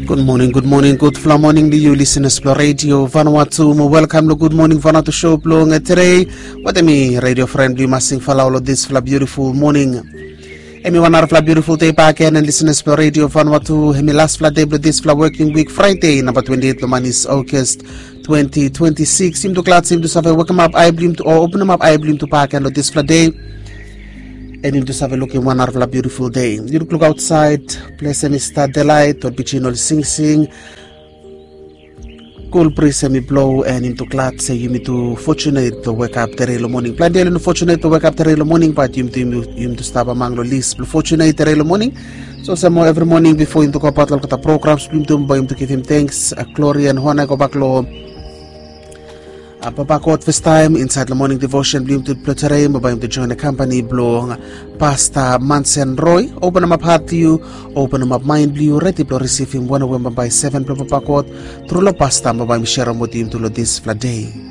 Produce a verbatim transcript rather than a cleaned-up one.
Gud moning, gud moning, gudfala moning long yu lisenas blong Radio Vanuatu. Mo welkam long Gud Moning Vanuatu show blong tere. Wetem mi radio fren blong yu Masing Falau long disfala biutiful moning. Hemi wan narafala biutiful dei bakegen, and lisenas blong Radio Vanuatu, hemi lasfala dei blong disfala woking wik, Fraide namba twenti eit blong manis, August twenti twenti sikis. Yumtu glad se yumtu save wekemap ae blong yumtu o openemap ae blong yumtu bakegen long disfala dei. And yumtu save lukim wan narafala biutiful dei. Yu lukluk aotsaed, ples hemi stap delait, ol pijin oli singsing. Kul bris hemi blo, and yumtu glad se yumi tu fotunet blong wekap tere long moning. Plante oli no fotunet blong wekap tere long moning, bat yumi tu, yumi, yumi tu stap among long lis blong fotunet tere long moning. So olsem mo evri moning bifo yumi tu gobaot long olgeta programs blong yumi tu, bae yumi tu givim tenks, a, glori and hona i gobak long a, Papa God fastaem insaed long moning devosen blong yumi tu blong tere, mo bae yumi tu joen kampani blong Pasta Mansen Roy. Openemap hat blong yu, openemap maen blong yu, redi blong risivim wan we bambae seven blong Papa God tru long pasta, mo bae mi serem wetem yumi tu long disfala dei.